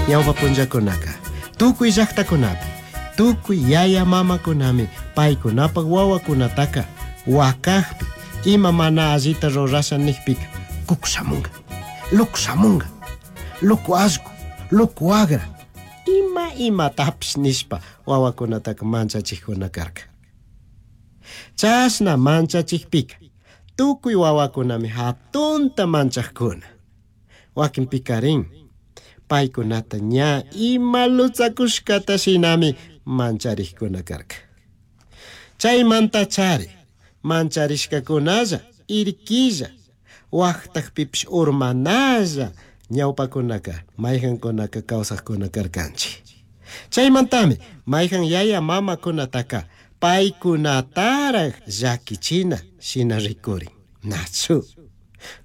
Ñawpa punllakunaka tukuy llaktakunapi tukuy yaya mamakunami paykunapak wawakunataka wakakpi ima mana allita rurasha nikpika kukushamunga lukushamunga luku allku luku agra ima imatapish nishpa wawakunataka manchachikuna karka. Chashna manchachikpika tukuy wawakunami hatunta manchakuna. Wakinpikarin paykunata ña ima lutzakushkata shinami mancharikuna karka. Chaymantachari mancharishkakunalla irquilla waqtakpipish urmanalla ñawpakunaka mayqankunaka kawsaqkuna karkanchik. Chaymantami mayqan yaya mamakunataka paykunataraq llakichina shina rikurin. Nachu.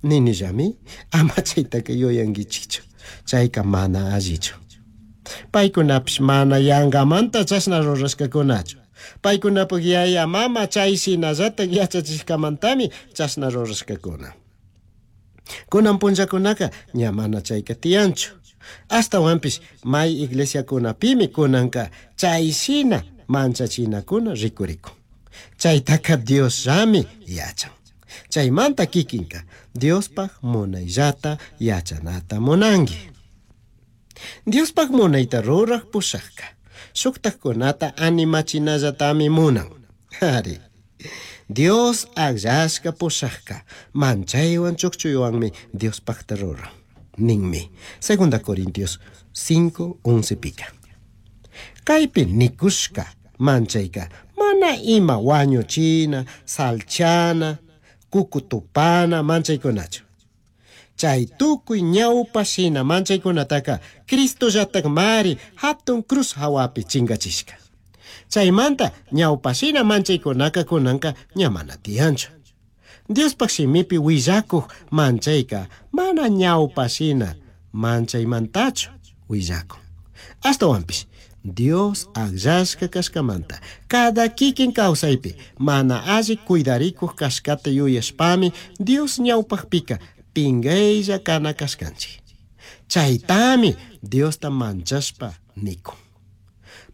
Ninillami ama chaytaka yuyankichikchu. Chayka mana allichu. Paykunapish mana yankamanta chashna rurashkakunachu. Paykunapak yaya mama chay shinallatak yachachishkamantami chashna rurashkakuna. Kunan punllakunaka ña mana chayka tiyanchu. Ashtawanpish may iglesiakunapimi kunanka chay shina manchachinakuna rikurikun. Chaytaka Diosllami yachan. Chaymanta kikinka Diospaj munayllata yachanata munanki. Diospaj munayta ruraj pushajka shuktajkunata animachinallatami munan. Ari. Dios akllashka pushajka manchaywan chukchuywanmi Diospajta ruran. Ninmi. Segunda Corintios 5:11 pika. Kaypi nikushka manchayka mana ima wañuchina, salchana, kukutupana manchaykunachu. Chay tukuy ñawpa shina manchaykunataka Cristollatakmari hatun cruz hawapi chinkachishka. Chaymanta ñawpa shina manchaykunaka kunanka ña mana tiyanchu. Diospaj shimipi willakuq manchayka mana ñawpa shina manchaymantachu willakun. Ashtawanpish Dios akllashka kashkamanta cada kikin kawsaypi mana alli cuidarikuq kashkata yuyashpami Dios ñawpaqpika pingaylla kana kashkanchik. Chaytami Diosta manchashpa nikun.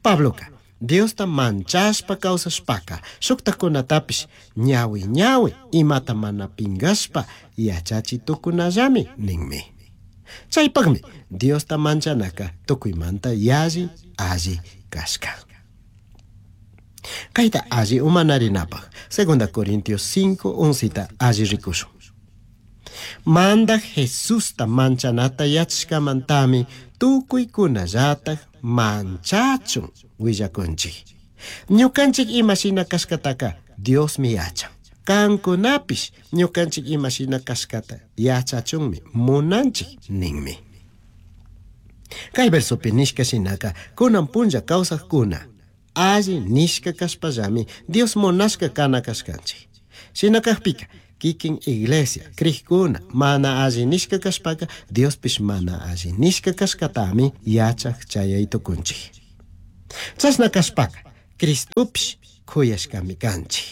Pabloka Diosta manchashpa kawsashpaka shuktakunatapish ñawi ñawi imata mana pingashpa yachachi tukunallami ninmi. Chaypaqmi Diosta manchanaka tukuymanta yalli alli kashka. Kayta alli umanarinapaq Segunda Corintios 5:11 alli rikushun. Mandaj Jesusta manchanata yachashkamantami tukuykunallatak manchachun willakunchik. Ñukanchik imashina kashkataka Diosmi yachan. Kankunapish ñukanchik imashina kashkata yachachunmi munanchik ninmi. Kay versopi nishka shinaka kunan punlla kawsaqkuna alli nishka kashpallami Dios munashka kana kashkanchik. Shina kaqpika kikin iglesia krikuna mana alli nishka kashpaka Diospish mana alli nishka kashkatami yachaq chayay tukunchik. Chashna kashpaka Cristopish kuyashkami kanchik.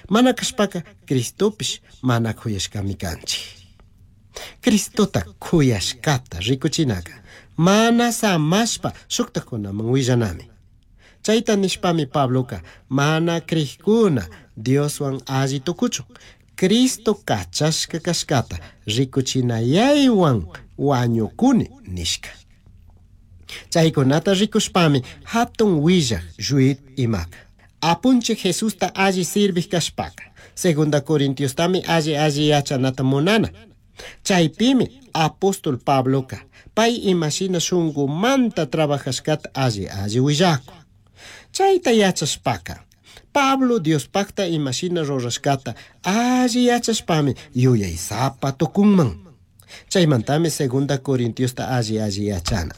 Mana kashpaka Cristopish mana kuyashkami kanchik. Cristota kuyashkata rikuchinaka mana samashpa shuktakunaman willanami. Chayta nishpami Pabloka mana krikuna Dioswan alli tukuchun. Cristo kachashka kashkata rikuchinayaywan wañukuni nishka. Chaykunata rikushpami hatun willaq lluit imaka. Apunchik Jesusta alli sirvik kashpaka. Segunda Corintiostami alli alli yachanata munana. Chaypimi apóstol Pabloka pay imashina shunkumanta trabajashkata alli alli willakun. Chayta yachashpaka Pablo Diospakta imashina rurashkata alli yachashpami yuyaysapa tukunman. Chaymantami Segunda Corintiosta alli alli yachana.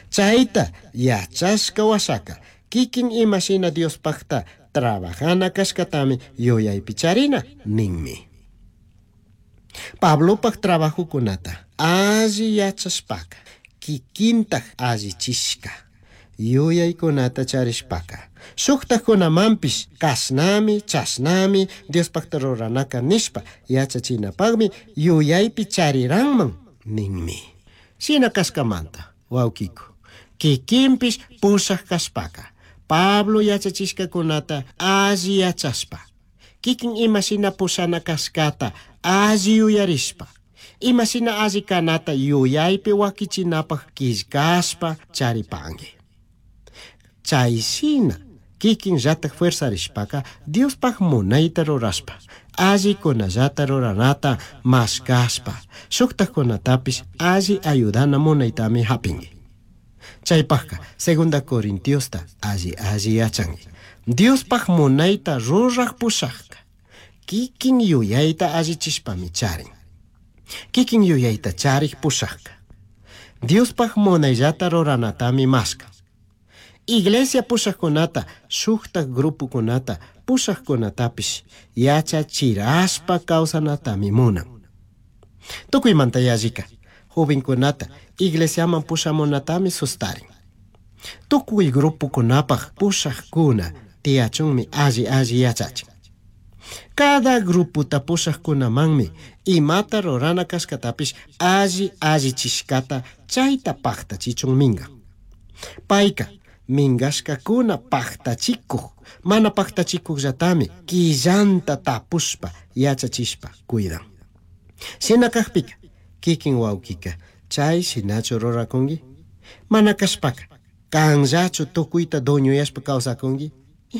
Chayta yachashka washaka kikin imashina Diospakta trabajana kashkatami yuyaypi charina ninmi. Pablopak trabajukunata alli yachashpaka kikintak allichishka yuyaykunata charishpaka shuktakunamanpish kashnami chashnami Diospakta ruranaka nishpa yachachinapakmi yuyaypi chariranman ninmi. Shina kashkamanta Huauquicu, kikinpish pushaj kashpaka, Pablo yachachishkakunata alli yachashpa, kikin imashina pushana kashkata alli yuyarishpa, imashina alli kanata yuyaypi wakichinapaj killkashpa charipanki. Chay shina kikinllatak fuerzarishpaka Diospaj munayta rurashpa, allikunallata ruranata mashkashpa, shuktajkunatapish alli ayudana munaytami hapinki. Chaypajka Segunda Corintiosta alli alli yachanki. Diospaj munayta ruraj pushajka kikin yuyayta allichishpami charin. Kikin yuyayta charij pushajka Diospaj munayllata ruranatami mashkan. Iglesia pushajkunata, shuktaj grupokunata, pushajkunatapish yachachirashpa kawsanatami munan. Tukuymanta yallika, jovenkunata iglesiaman pushamunatami sustarin. Tukuy grupokunapaj pushajkuna tiyachunmi alli alli yachachin. Cada grupota pushajkunamanmi imata rurana kashkatapish alli allichishkata chayta pajtachichun mingan. Payka minkashkakuna pajtachikuj, mana pajtachikujllatami killanta tapushpa yachachishpa cuidan. Shina kajpika kikin wawkika chay shinachu rurakunki? Mana kashpaka kanllachu tukuyta dueñoyashpa kawsakunki?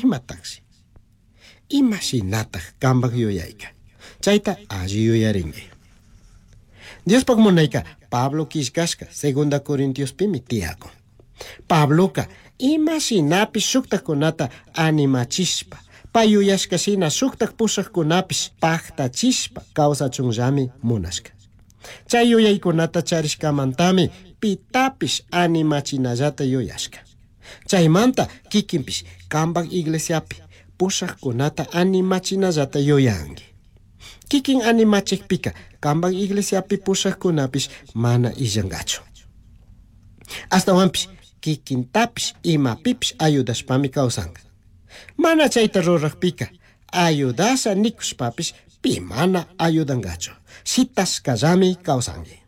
Imatakshi? Ima shinataj kanpak yuyayka? Chayta alli yuyarinki. Diospaj munayka Pablo killkashka Segunda Corintiospimi tiyakun. Pabloka ima shinapish shuktajkunata animachishpa, pay yuyashka shina shuktaj pushajkunapish pajtachishpa kawsachunllami munashka. Chay yuyaykunata charishkamantami pitapish animachinallata yuyashka. Chaymanta kikinpish kanpak iglesiapi pushajkunata animachinallata yuyanki. Kikin animachikpika kanpak iglesiapi pushajkunapish mana illankachu. Ashtawanpish kikintapish imapipish ayudashpami kawsanka. Mana chayta rurajpika ayudasha nikushpapish pi mana ayudankachu. Shitashkallami kawsanki.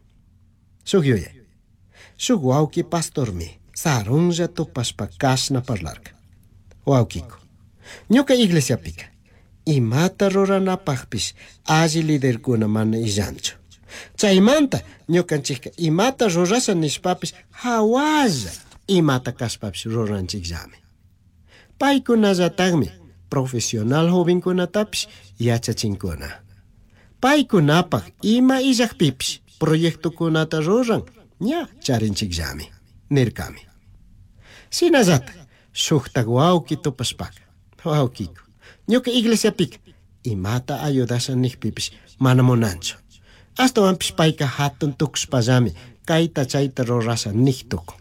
Shuk yuyay. Shuk wawki pastormi sarunlla tupashpa kashna parlarka. Wawkiku, ñuka iglesiapika imata ruranapajpish alli liderkuna mana illanchu. Chaymanta ñukanchikka imata rurasha nishpapish hawalla imata kashpapish ruranchikllami. Paykunallatakmi profesional jovenkunatapish yachachinkuna. Paykunapaj ima illakpipish proyectokunata ruran ña charinchikllami, nirkami. Shinallatak shuktak wawki tupashpaka, wawkiku, ñuka iglesiapika imata ayudasha nikpipish mana munanchu. Ashtawanpish payka hatun tukushpallami kayta chayta rurasha nik tukun.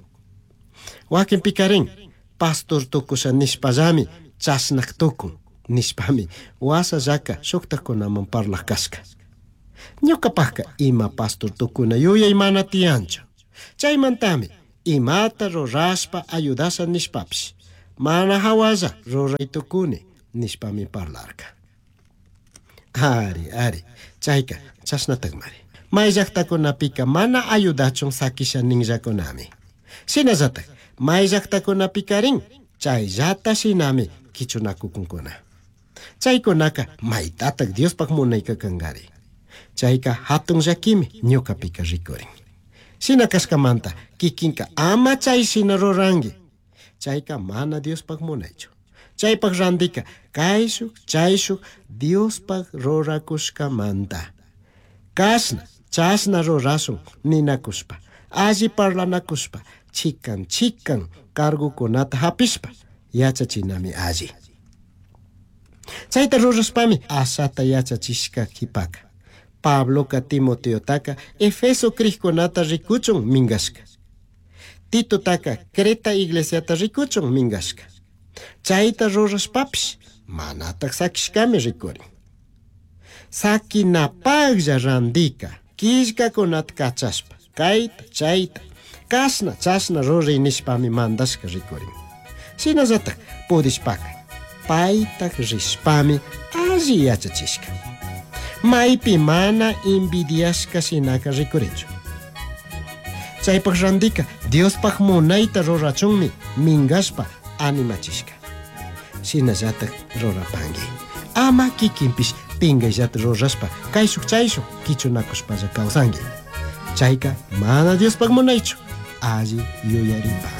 Wakinpikarin pastor tukusha nishpallami chashnak tukun nishpami wasallaka shuktajkunaman parlaj kashka. Ñukapajka ima pastor tukuna yuyay mana tiyanchu. Chaymantami imata rurashpa ayudasha nishpapish mana hawalla ruray tukuni nishpami parlarka. Ari, ari, chayka chashnatakmari. May llaktakunapika mana ayudachun sakisha ninllakunami. Shinallatak may llaktakunapikarin chayllata shinami kichunakukunkuna. Chaykunaka maytatak Diospaj munayka kankari. Chayka hatun llakimi ñukapika rikurin. Shina kashkamanta kikinka ama chay shina ruranki. Chayka mana Diospaj munaychu. Chaypaj randika kayshuk chayshuk Diospaj rurakushkamanta. Kashna chashna rurashun ninakushpa, alli parlanakushpa, chikan chikan cargukunata hapishpa yachachinami alli. Chayta rurashpami ashata yachachishka kipaka. Pabloka Timoteotaka Efeso crijkunata rikuchun minkashka. Titotaka Creta iglesiata rikuchun minkashka. Chayta rurashpapish manatak sakishkami rikurin. Sakinapajlla randika killkakunata kachashpa kayta chayta kashna chashna ruray nishpami mandashka rikurin. Shinallatak pudishpaka paytak rishpami alli yachachishka. Maypi mana envidiashka shinaka rikurinchu. Chaypaj randika Diospaj munayta rurachunmi mingashpa animachishka. Shinallataj rurapangui. Ama kikinpish pingayllata rurashpa kayshuk chayshuk kichunakushpalla kawsanki. Chayka mana Diospaj munaychu. Alli yuyaripangui.